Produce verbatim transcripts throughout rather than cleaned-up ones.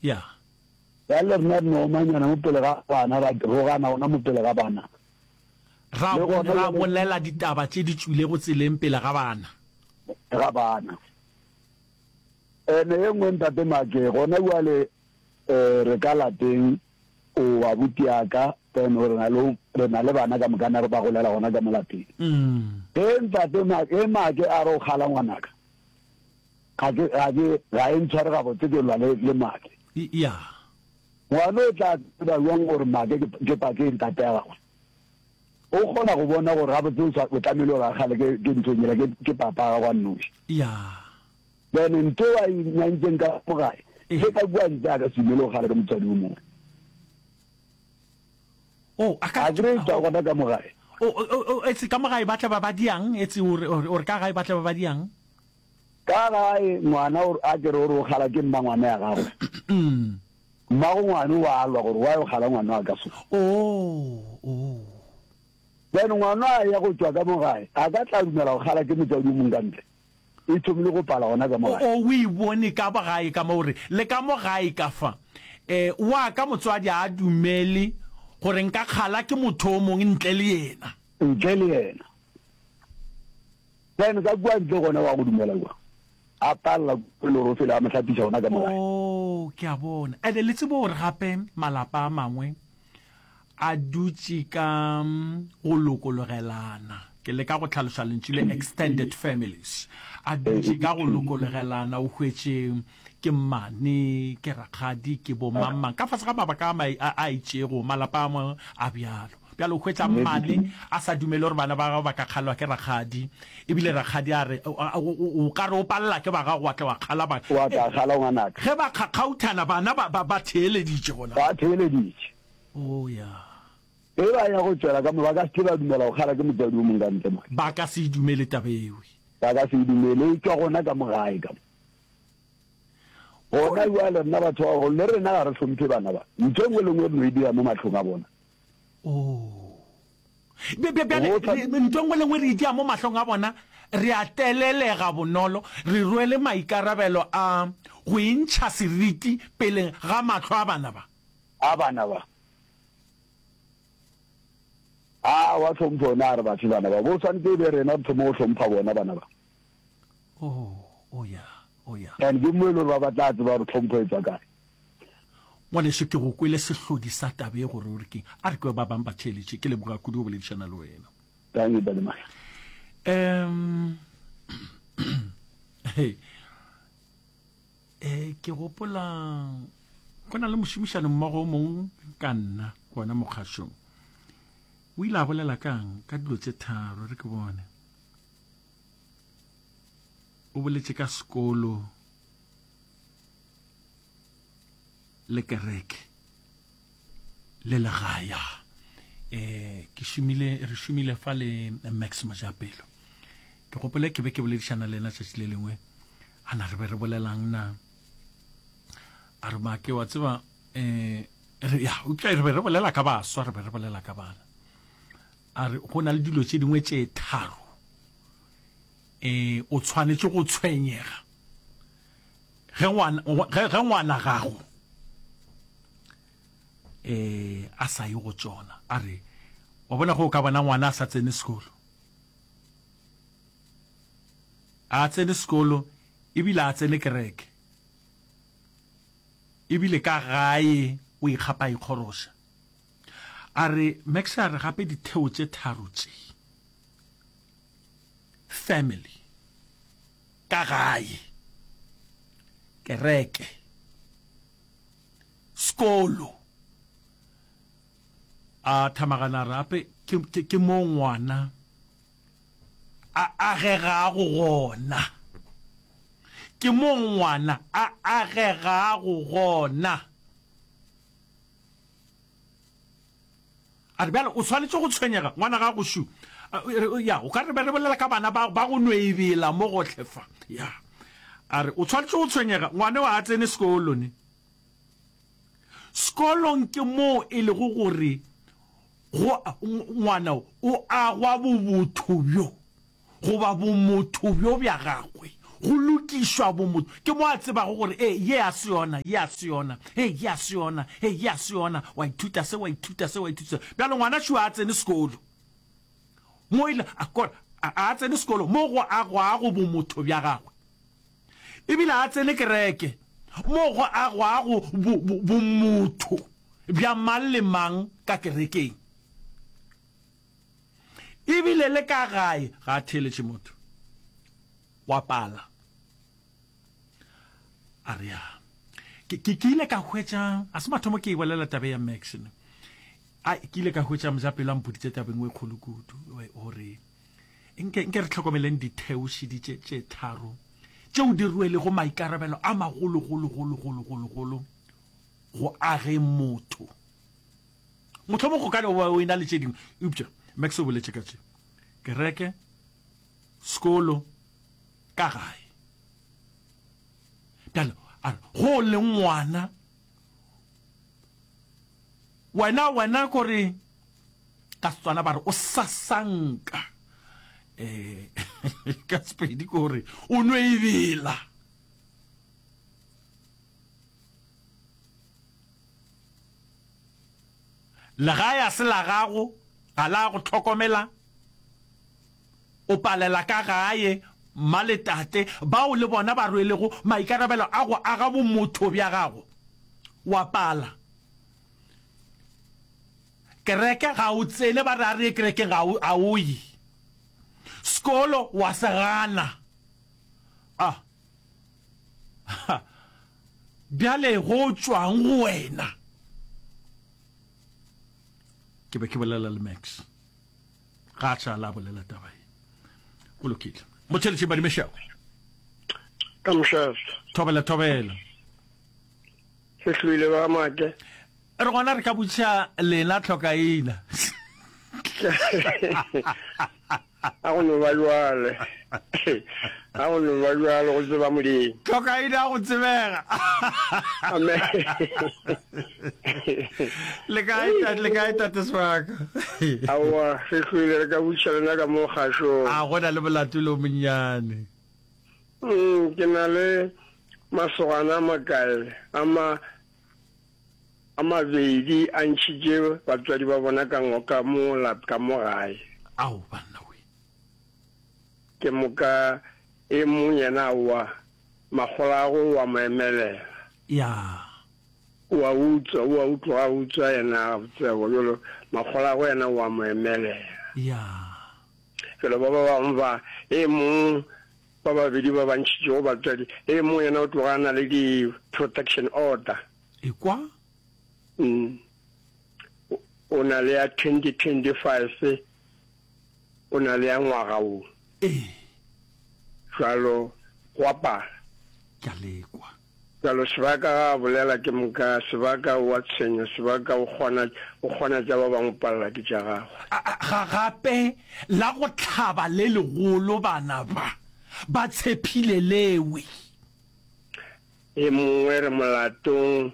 Ya. Bjale rena re no omanyana mo pele ga bana, ra rogana gona mo pele ga bana. Ra, Le gona ra bjale bolela ditaba tše di tšwilego tseleng pele ga bana. Ga bana. Ene ye nngwe ntate Make, gona bjale eh, re ka lapeng, o abuti ya ka, then re na le, re na le bana ka mokana re ba golela gona ka mo lapeng. Mm. Ge ntate Make, ge Make a re o kgala ngwanaka, ga ke, ga ke, ga e ntshware gabotse ke lwa le, le Make. Ya. Ngwana o tla tseba bjang gore Make ke, ke pa, ke ntate ya gagwe? O kgona go bona gore gabotse o swa, o tlamehile gore a kgale ke, ke nthong yela, ke, ke papa wa gagwe a nnoši. Ya. Then ntho a e nyantseng ka mo gae, Ee. ge ka kua ntle a ka se dumele go kgala ke motswadi o mongwe. Oh, a ka A kry-e tšwa gona ka mo gae. O, o, o, o, etse ka mo gae ba tla ba ba diang? Etse o re, o re ka gae ba tla ba ba diang? Ka gae ngwana o, a ke re o re o kgala ke mmangwana ya gagwe. Mmago ngwana o a lwa gore why o kgala ngwana wa ka so. Oh, oh. Then ngwana a ya go tšwa ka mo gae, a ka tla dumela go kgala ke motswadi o mongwe ka ntle. E thomile go pala gona ka mo O, gae. o, o e bone ka mo gae ka mo, o re, le ka mo gae ka fa. Eh, wa ka motswadi a dumele gore nka kgala ke motho o mongwe ntle le yena. Ntle le yena. Then ka kua ntle gona wa go dumela kua. A palela ke le gore o fele a mo hlapiša gona ka mo gae. Oh, ke a bona. Ene le tsebo gore gape malapa a mangwe a dutše ka go lokologelana. Ke leka go hlaloša lentšu le extended families. A dutše ka go lokologelana, o hwetše ke mmane, ke rakgadi, ke bo mang mang. Ka fase ga mabaka a mai, a, a itšego, malapa a mangwe a bjalo. Bjalo o hwetša mmane a sa dumele gore bana ba gagwe ba ka kgalwa ke rakgadi, ebile rakgadi a re, o, o, o, o ka re o palela ke ba gago wa tla wa kgala ba. Wa tla kgala ngwanaka. Ge ba kgakgauthana bana ba, ba, ba theeleditše gona. Ba theeleditše. Oh, ya. Ge ba ya go tšwela ka mo, ba ka se ke ba dumela go kgala ke motswadi o mongwe ka ntle mo. Ba ka se e dumele taba eo. Ba ka se e dumele, e tšwa gona ka mo gae ka mo. Gona bjale rena batho ba bagolo, le rena ga re hlomphe bana ba. Ntho e nngwe le nngwe re no e dira mo mahlong a bona. Oh. Bja- bja- Bjale, Go tla- re- ntho e nngwe le nngwe re e dia mo mahlong a bona, re a telelega bonolo, re rwele maikarabelo a go e ntšha seriti peleng ga mahlo a bana ba. A bana ba. A wa hlompho ona a re bafe bana ba. Bo swanetše e be rena re thome go hlompha bona bana ba. Oh, oh ya, oh ya. And ke mo e le gore ba ba tla tseba gore tlhompho e tswa kae. Ngwaneso, ke go kwele sehlodi sa taba e gore o re keng. A re kwe ba bang ba theeletše. Ke leboga kudu go boledišana le wena. Thank you, Ntate Mahla. Um, hey, eh, ke gopola go na le mošomišano mmogo o mongwe ka nna gona mokgašong. O ile a bolela kang ka dilo tše tharo, re ke bone. O boletše ka sekolo le kereke le legae. Eh, ke šomile, re šomile fa le Max Mojapelo. Ke gopole ke be ke boledišana le yena tšatši le lengwe. A na re be re bolelang na? A re Make, wa tseba, eh, re, ya, eupša re be re bolela ka baswa, re be re bolela ka bana. A re go na le dilo tše dingwe tše tharo, eh, o tshwanetše go tshwenyega ge ngwana, ge, ge ngwana gago, eh, a sa ye go tšona. A re, wa bona ge o ka bona ngwana a sa tsene sekolo, a tsene sekolo ebile a tsene kereke, ebile ka gae o ikgapa a ikgoroša. A re, Max a re gape ditheo tše tharo tše, family, ka gae, kereke, sekolo. A thamagana a re gape ke, ke, ke mo ngwana a agegago gona. Ke mo ngwana a agegago gona. A re bjale o swanetše go tshwenyega ngwana gago šu. Ya, o ka re be re bolela ka bana ba, ba go no ebela mo gohle fa. Ya. A re o swanetše go tshwenyega ngwana o a tsene sekolo ne. Sekolong ke moo e lego gore go ngwana o agwa bobotho bjo goba bomotho bjo bja gagwe go lokišwa bomotho. Ke mo a tsebago gore e ye a se yona, ye a se yona, e ye a se yona, e ye a se yona. Wa ithuta se, wa ithuta se, wa ithuta se. Bjalo ngwana šo a tsene sekolo. Mo ile a kore a a tsene sekolo mo go agwago bomotho bja gagwe. Ebile a tsene kereke mo go agwago bo, bo, bomotho bja mang le mang ka kerekeng. Ebile le ka gae ga a theeletše motho. Wa pala. A re ya. Ke, ke, ke ile ka hwetša, a se mathomo ke e bolela tabe ya Max ne. A ke ile ka hwetša mojapelo a mpoditše tabeng e kgolo kudu gore nke, nke re hlokomeleng ditheošidi tše, tše tharo tšeo di rwelego maikarabelo a magologologologologologolo go ageng motho. Mohlomong go ka no ba o e na le tše dingwe, eupša Max o boletše ka tše: kereke, sekolo, ka gae. Bjale a re go le ngwana, wena, wena kore ka Setswana ba re o sasanka, eh, ka Sepedi kore o no e bela. Legae a se la gago, ga la go hlokomela, o palela ka gae, mma le tate, bao le bona ba rwelego maikarabelo a go aga bomotho bja gago, wa pala. Kereke ga o tsene, ba re a re ye kerekeng, ga o, ga o ye. Sekolo wa se gana. Ah. Ha. Bjale go tšwang go wena? Ke be ke bolela le Max. Ga a tšala a bolela taba ye. Go lokile. Motheletši Badimešego. Ka mošate. Thobela, thobela. Se hloile ba make. Re gona re ka botšiša lena tlhokaina. A go no ba jwale. A go no ba jwale go tseba Modimo. Tlhokaina go tsebega. Amen. Le kae tate, le kae tate Sebaka? Aowa, re hloile re ka botšiša lena ka mo kgašong. A go na le molato le o monnyane. Mm, ke na le masogana a makae a ma a mabedi a ntšhitše batswadi ba bona ka ngo ka mo lap ka mo gae. Ao banna we. Ke moka e mong yena aowa makgolagwe o a mo emelela. Ya. O a utswa, o a utloga a utswa yena gabotsebo bjalo makgolagwe yena o a mo emelela. Ya. Bjalo ba ba bangwe ba e mong ba babedi ba ba ntšhitšego batswadi e mong yena o tloga a na le di protection order. Ekwa. Mm. O na le ya twenty twenty-five, o na le ya ngwaga wo. Ee. Jwalo go a pala. Ke a lekwa. Jwalo Sebaka ga a bolela ke moka, Sebaka o a tshwenya, Sebaka o kgona, o kgona tša ba bangwe o palela ke tša gagwe. A, a, ga gape la go hlaba le legolo bana ba, ba tshephile lewe. E mongwe re molatong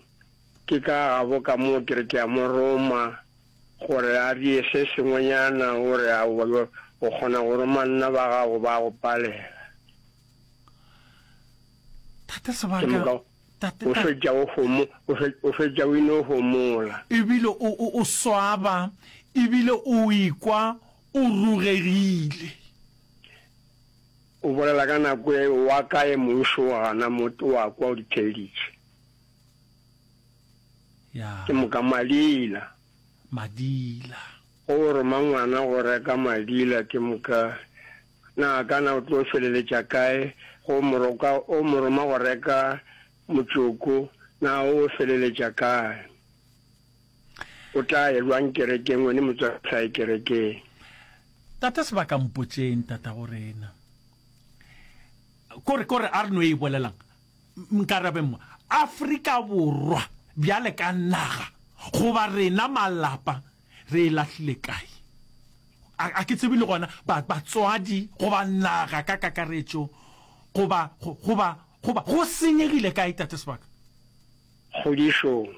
ke ka gabo ka moo ke re ke a mo roma gore a die se sengwenyana, o re aowa o kgona go roma nna ba gago ba go palela. Tate Ke Sebaka, moka tate, o tate. fetša o homo, o fe, o fetša o ino homola. Ebile o, o, o swaba, ebile o ikwa o rugegile. O bolela ka nako e wa kae mongšo o gana mo o a kwa o di theeditše. Ya. Ke moka madila. Madila. Go roma ngwana go reka madila ke moka na kana o tlo feleletša kae go moroka o mo roma go reka motšoko na o feleletša kae. O tla ye jwang kerekeng wene motswadi sa ye kerekeng. Tate Sebaka mpotšeng tata go rena. Kore kore a re no e bolelang nkarabeng mo Afrika Borwa bjale ka naga goba rena malapa re e lahlile kae? A, a ke tsebe le gona ba, batswadi goba naga ka kakaretšo goba, goba, goba go senyegile kae tate Sebaka? Kgodišong.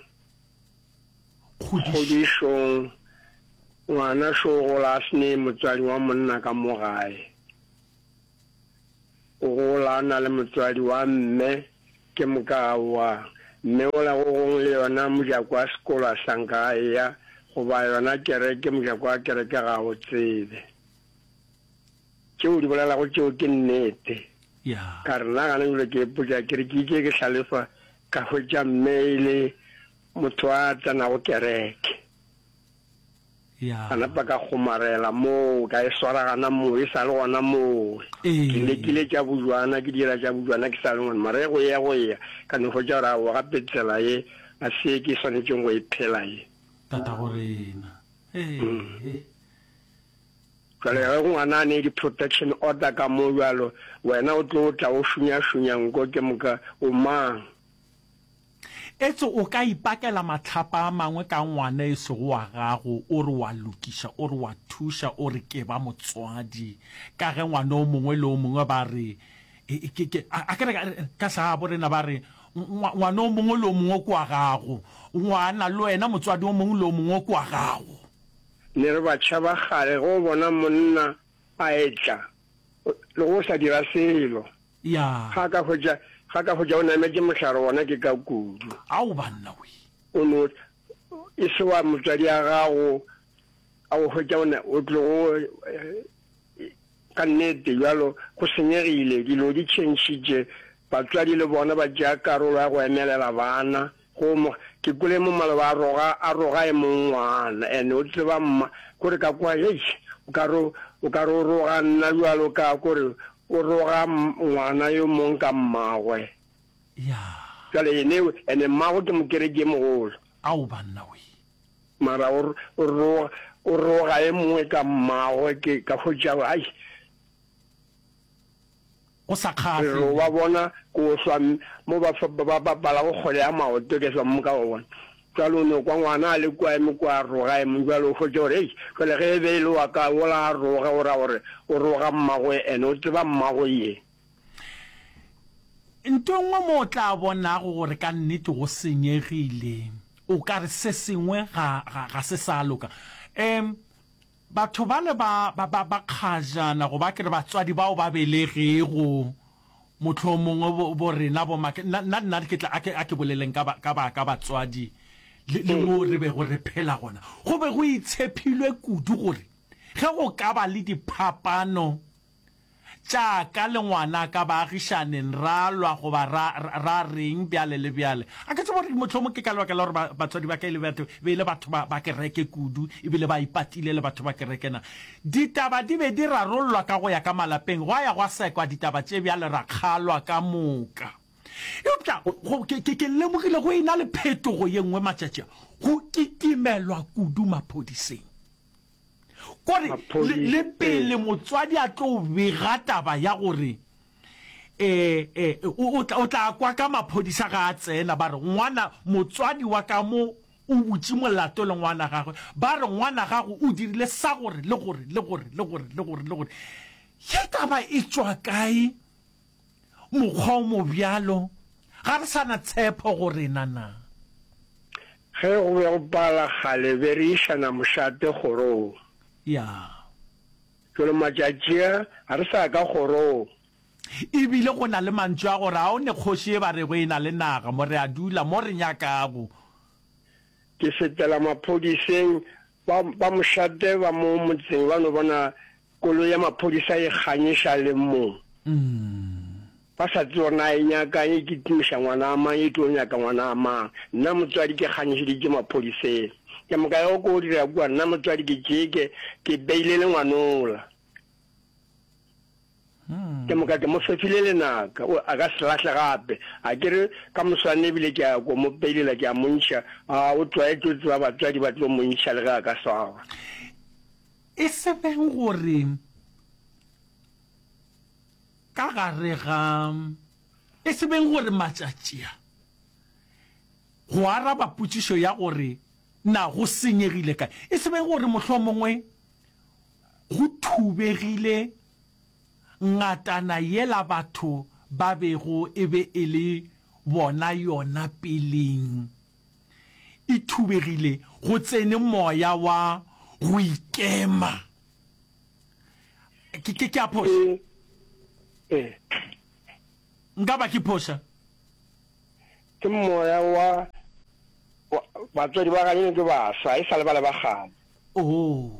Kgodišo. Kgodišong. Ngwana šo gola a se ne motswadi wa monna ka mo gae. o gola a na le motswadi wa mme ke moka aowa mme ola go gongwe le yona mojako wa sekolo a sanka a eya goba yona kereke mojako wa kereke ga a o tsebe. Tšeo o di bolelago tšeo ke nnete. Ya. Ka re nna gana bjalo ke ipotša ke re ke itše ke hlalefa ka hwetša mme e le motho a tsenago kereke. Ya. Ka napa ka kgomarela moo, ka e swara gana moo, e sa le gona moo. Ke lekile tša bojwana, ke dira tša bojwana ke sa le ngwana, mara ge go eya go eya, ka no hwetša gore aowa gape tsela ye ga se ye ke swanetšeng go e phela ye. Tatago rena. Ee. Jwale ge ngwana a ne di-protection order ka mo bjalo, wena o tlo tla o šunyašunya nko ke moka, o mang? Etse o ka ipakela mahlapa a mangwe ka ngwana e sego wa gago, o re wa lokiša, o re wa thuša, o re ke ba motswadi, ka ge ngwana o mongwe le o mongwe ba re, ke, ke, a ke re ka segabo rena ba re, ngwana o mongwe le o mongwe ke wa gago, ngwana le wena motswadi o mongwe le o mongwe ke wa gago. Ne re batšha ba kgale ge o bona monna a etla le go sa dira selo. Ya. Ga a ka hwetša, ga a ka hwetša o nametše mohlare wona ke ka kudu. Ao banna we. O no, e se wa motswadi a gago a go hwetša o na, o tlogo, ka nnete bjalo go senyegile, dilo di tšhentšhitše, batswadi le bona ba tšea karolo ya go emelela bana. Go mo, ke kwele mo maloba a roga, a roga e mong ngwana, and o tseba mma, kore ka kwa, eish, o ka re, o ka re o roga nna bjalo ka, kore o roga ngwana yo mong ka mmagwe. Ya. Bjale ene, and mmagwe ke mokereki e mogolo. Ao banna we. Mara o, o roga, o roga e mongwe ka mmagwe, ke ka hwetša, ai. Go sa Re kgahle. ro ba bona ko hlwa mo ba ba bapalago kgwele ya maoto ke hlwa mo ka ba bona. Jwale o no kwa ngwana a le kua eme kua a roga eme jwale o hwetša gore hei jwale ge e be e le wa ka wola a roge o ra gore o roga mmagwe ene o tseba mmagwe ye. Nto e nngwe mo o tla bonago gore ka nnete go senyegile o ka re se sengwe ga ga ga se sa loka. Um Batho bale ba, ba, ba, ba kgajana, goba ke re batswadi bao ba belegego, mohlomongwe bo, bo rena bo make, nna, nna, nna ke tla, a ke, a ke boleleng ka ba, ka ba, ka batswadi le, le moo re bego re phela gona. Go be go itshephilwe kudu gore ge go ka ba le diphapano, Tša ka le ngwanaka baagišaneng ra lwa goba ra, ra, ra reng bjale le bjale. A ke tsebe gore mohlomong ke ka lebaka la gore ba, batswadi ba ka e le batho, be e le batho ba, ba kereke kudu, ebile ba ipatile le batho ba kereke na. Ditaba di be di rarollwa ka go ya ka malapeng, gwa ya gwa sekwa ditaba tše bjale ra kgalwa ka moka. Eupša go, ke, ke, ke lemogile go e na le phetogo ye nngwe matšatši a, go kitimelwa kudu maphodiseng. Kore le, le pele motswadi a tlo bega taba ya gore e, e, o, o tla, o tla kwa ka maphodisa ga a tsena ba re ngwana, motswadi wa ka mo o butše molato le ngwana gagwe, ba re ngwana gago o dirile sa gore le gore le gore le gore le gore le gore. Ye taba e tšwa kae? Mokgwa o mobjalo, ga re sa na tshepo go rena na? Ge go be go pala kgale be re išana mošate kgorong. Ya. Jwale matšatši a ga re sa ya ka kgorong. E bile go na le mantšu a gore a o ne kgoši e ba rego e na le naga mo re a dula mo re nyakago. Ke fetela maphodiseng, ba, ba mošate ba mo motseng ba no bona Koloi ya maphodisa e kganyeša le mo. Ba sa tsebe gore na e nyakang, e kitimiša ngwana mang, e tlo nyaka ngwana mang. Nna motswadi ke kganyešeditše maphodiseng. Ke moka ya go ko dira kua, nna motswadi ke tšeke, ke beile le ngwanola. Ke moka ke mo fefile lenaka, o a ka se lahle gape. A ke re ka moswane ebile ke a ko mo peilela, ke a mo ntšha. A o tlwaetše, o tseba batswadi ba tlo mo ntšha le ge a ka swarwa. E se beng gore ka gare ga, e se beng gore matšatši a, go araba potšišo ya gore na go senyegile kae, e se beng gore mohlomongwe go thubegile ngatana yela batho ba bego e be e le bona yona peleng. E thubegile, go tsene moya wa go ikema. Ke, ke, ke a phoša? E, Ee. Nka ba ke phoša? Ke moya wa, wa batswadi ba ganyane ke baswa, e sa le bale ba kgale. Oh.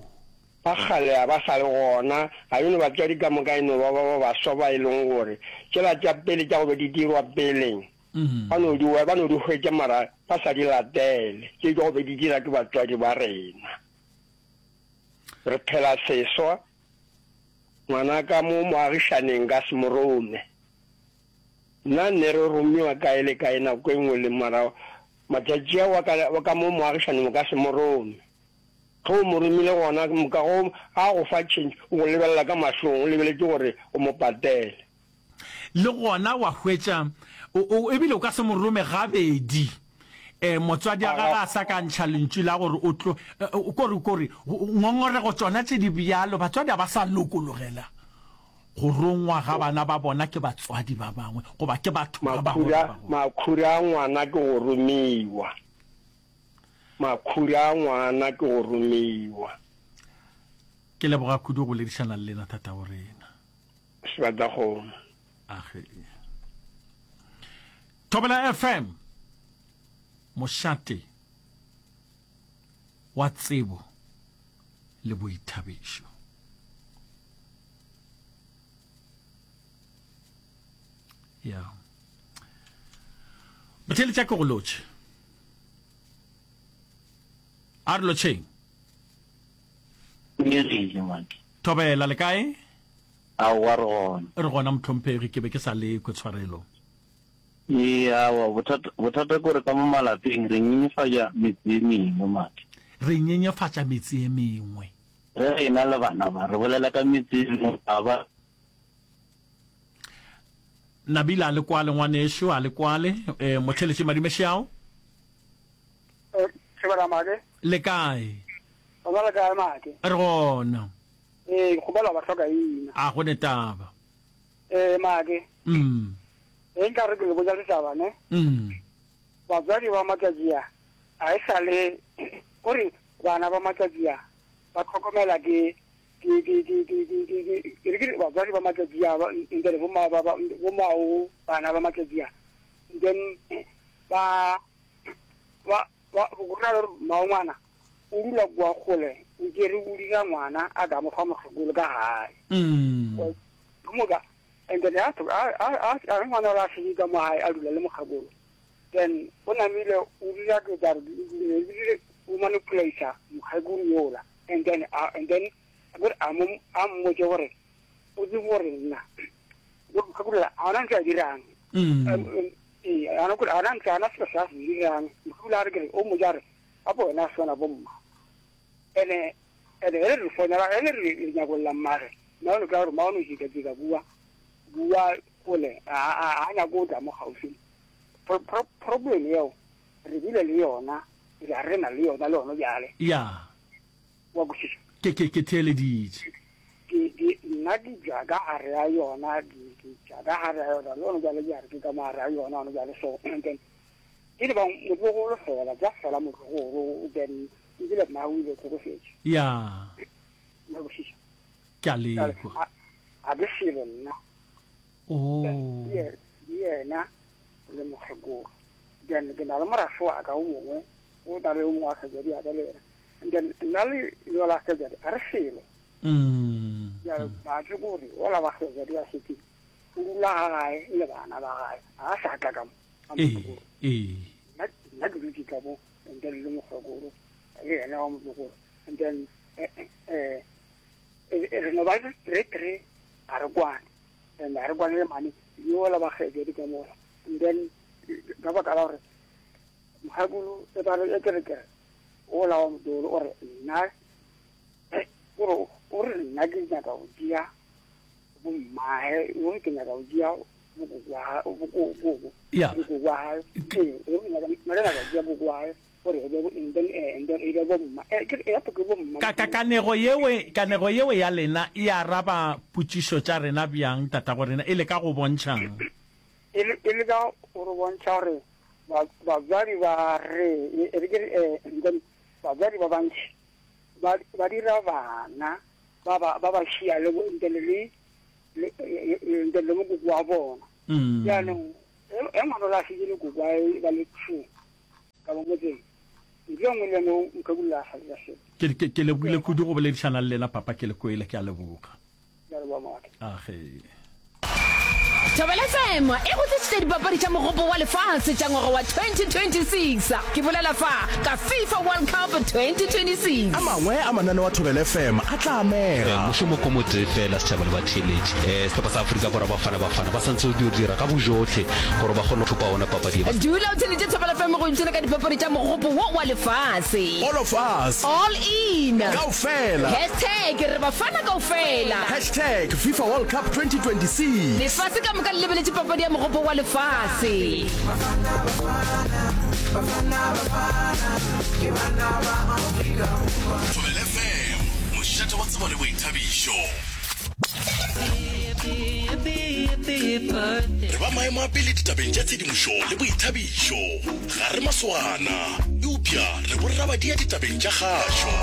Ba kgale a ba sa le gona, ga yono batswadi ka moka e no ba ba ba baswa ba e leng gore tšela tša pele tša go be di dirwa peleng ba no di ba no di hwetša mara ba sa di latele, tše tša go be di dira ke batswadi ba rena. Re phela seswa, ngwanaka mo moagišaneng ka se mo rome. Nna ne re romiwa kae le kae nako e nngwe le mara matšatši a wa ka, wa ka mo moagišaneng o ka se mo rome. Ge o mo romile gona ke moka go a go fa change o go lebelela ka mahlong o lebeletše gore o mo patele. Le gona wa hwetša o, o, ebile o ka se mo rome gabedi. E, motswadi a gagwe a sa ka ntšha lentšu la gore o tlo, kore, kore, ngongorego tšona tše di bjalo, batswadi ga ba sa lokologela go rongwa ga bana ba bona ke batswadi ba bangwe goba ke batho ba bangwe ba Makhura, bagolo. makhura a ngwana ke go romiwa. Makhura a ngwana ke go romiwa. Ke leboga kudu go boledišana le lena tatago rena. Sebatakgomo. Age. Thobela F M, mošate wa tsebo le boithabišo. Ya. Botheletša ke go lotšhe. A re lotšheng. Nyegile, Maki. Thobela, le kae? Aowa, re gona. Re gona, mohlomphegi, ke be ke sa lekwe, tshwarelo. Ee, aowa, bothata, bothata ke gore ka mo malapeng re nyenyefatša metse e mengwe, Maki. Re nyenyefatša metse e mengwe. Ge re ena le bana ba, re bolela ka metse e mengwe, ga ba. Nabila, a le kwale, ngwanešu, a le kwale. E, motheletši Madumešeao. Thobela, Make. Le kae? Gona le kae, Make? Re gona. Ee, ke kgopela ba hloka ina. A go ne taba. Ee, Make. Mm. Ge nka re ke le botša ditaba, ne? Mm. Batswadi ba matšatši a, a e sa le, gore bana ba matšatši a ba hlokomela ke, ke, ke, ke, ke, ke, ke, ke, ke re ke re batswadi ba matšatši a, ba, ntle le bomma ba, ba, bommago bana ba matšatši a, then ba, ba, ba, go ra gore mmago ngwana o dula kua kgole, o tšere o dira ngwana a ka mo fa mokgekolo ka gae. Mm. Ke moka, and then a, a, a, a, a ngwana ola a šetše ka mo gae a dula le mokgekolo, then o namile o dira ke tla re, o manipulate mokgekolo yola, and then, a, and then gore a mo, a mmotše gore o tsebe gore nna mokgekolo a ona ntse a dirang. Mm. Ee, a ona a ona ntse a ona selo se a se dirang. Mokgekolo a re ke re, o mmotša re, gape wena a swana bomma. Ene, ene ge re fonela, ge re re nyakolla mmage, mma o ka gore mma o no jika-jika bua, bua kgole, a, a, a nyako o tla mo kgauswi. Pro-, pro-, problem yeo re bile le yona, re re na le yona le yona bjale. Ya. Wa kwešiša? Ke, ke, ke theeleditše. Ke, ke, nna ke tšwa ka gare ya yona, ke, ke tšwa ka gare ya yona, le yona bjale ke a re ke ka mo gare ya yona, yona bjale so, and then, e le ba motlogolo fela, ja fela motlogolo, then ebile mma o ile tlhokofetše. Ya. Wa kwešiša? Ke a lekwa. A, a ke selo nna. Oh. Ke yena le mokgekolo. Then ke na le morafe wa ka o mongwe, o na le o mongwe wa kgajadi ya ka le yena. And then nna le yola kgajadi a re selo. Mm. Bjale ba tse gore ola ba kgajadi ya setse o dula ga gae le bana ba gae, a sa tla ka mo. Ee, ee. Nna, nna ke dutše ka mo, and then le mokgekolo le yena wa motlogolo. And then, eh, eh, eh, re no ba re three, a re kwane. And a re kwane le mane, yola ba kgajadi ka mola. And then ka baka la gore mokgekolo e ba re, e ke re ke re, ola wa motlogolo o re nna, eh, o re, o re nna ke nyaka go tšea bommae, o re ke nyaka go tšea bokoko wa hae, bokoko, bokoko. Ya. Bokoko wa hae. Ee, o re nyaka, nna ke nyaka go tšea koko wa hae, gore e be bo, and then, eh, and then e be bomma. Eh, ke re, e gape ke bomma. Ka, ka, kanego yewe, kanego yewe ya lena e araba potšišo tša rena bjang, tatago rena? E leka go bontšhang? E le, e leka go re bontšha gore ba, batswadi ba re, e re ke re, eh, and then batswadi ba bantši ba, ba dira bana ba ba, ba ba šia le bo, ntle le, Le and then le mokoko wa bona. Jaanong e ngwana la fitse le koko a ba le two ka mo motseng. Ntlo e nngwe le nngwe mokgekolo a sa dira selo. Ke, ke, ke lebogile kudu go boledišana le lena, Papa, ke le kwele, ke a leboga. Ke a leboga, Mogatla. Age. Thobela FM e go tlišitše dipapadi tša Mogopo wa Lefase tša ngwaga wa twenty twenty six. Ke bolela fa ka FIFA World Cup twenty twenty six. A mangwe a mananeo a Thobela F M a tla amega. Mošomo ko motee fela, setšhaba le batheeletši. Sehlopha sa Afrika Borwa Bafana Bafana ba santse go dio dira ka bojohle gore ba kgone go thopa ona papadi ye. Dula o theeletše Thobela F M go ipshina ka dipapadi tša Mogopo wo wa Lefase. All of us. All in. Kaofela. Hashtag re Bafana kaofela. Hashtag FIFA World Cup twenty twenty six. Lefase ka moka le lebeletše papadi ya Mogopo wa Lefase. Thobela F M, mošate wa tsebo le boithabišo. Re ba maemo a pele ditabeng tša tshedimošo le boithabišo. Ga re masogana, eupša re borrabadia ditabeng tša kgašo.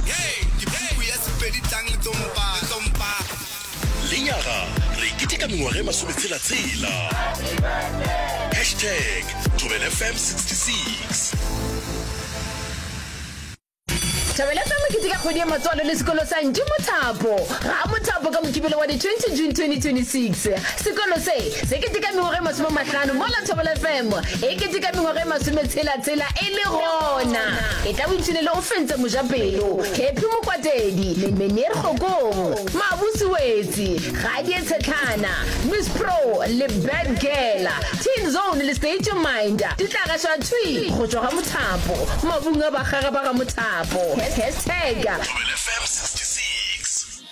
Hey, ke puku ya Sepedi tlang le tlo mpa, le tlo mpa. Lenyaga re keteka mengwaga e masometshela-tshela. Hashtag Thobela F M sixty six. Thobela F M e keteka kgwedi ya matswalo le sekolo sa Ntši Mothapo ga Mothapo ka Mokibelo wa di twenty June twenty twenty-six. Sekolo se se keteka mengwaga e masome mahlano mola Thobela F M e keteka mengwaga e masometshela-tshela e le gona. E tla boipshine le o fentse mojapelo Happy Mokwatedi, Meneer Kgokong, Mabusi Wetsi, Gadie Tshetlhana, Miss Pro le Bad Girl, Teen Zone le State Your Mind di tla gašwa thwi go tšwa ga Mothapo mabung a bakgaga ba ga Mothapo. Hashtag Thobela F M sixty-six.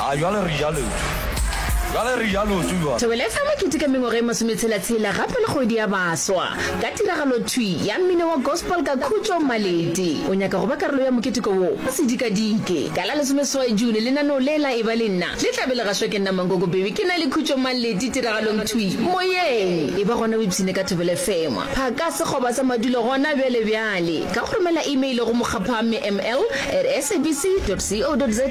A jwale re ja leoto. Jwale re ja leoto jwale. Thobela F M e keteka mengwaga e masometshela-tshela gape le kgwedi ya baswa ka tiragalo thwi ya mmino wa gospel ka Khutšo Maleti. O nyaka go ba karolo ya moketeko wo? Se dikadike. Ka la lesomeseswai June lenaneo le la Eba le Nna le tla be le gašwa ke nna Mankoko Baby ke na le Khutšo Maleti tiragalong thwi moyeng. Eba gona o ipshine ka Thobela F M. Phaka sekgoba sa madulo gona bjale bjale ka go romela email go mokgaphame ml at sabc dot co dot za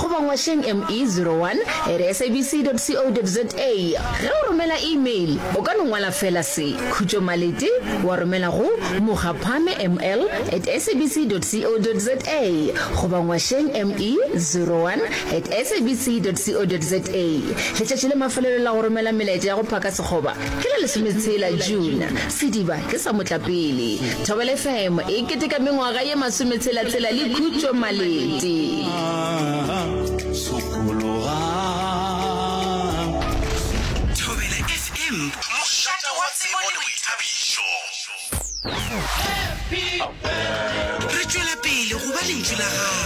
goba ngwašeng me zero one at sabc dot co dot za. Ge o romela email o ka no ngwala fela se Khutšo Maleti wa romela go mokgaphame ml at sabc dot co dot za goba ngwašeng me zero one at sabc dot co dot za. Letšatši le mafelelo la go romela melaetša ya go phaka sekgoba ke la lesometshela June. Sediba ke sa motlapele. Thobela F M e keteka mengwaga ye masometshela-tshela le Khutšo Maleti. Sokologang. Thobela F M, mošate wa tsebo le boithabišo. Re tšwela pele go ba lentšu la gago.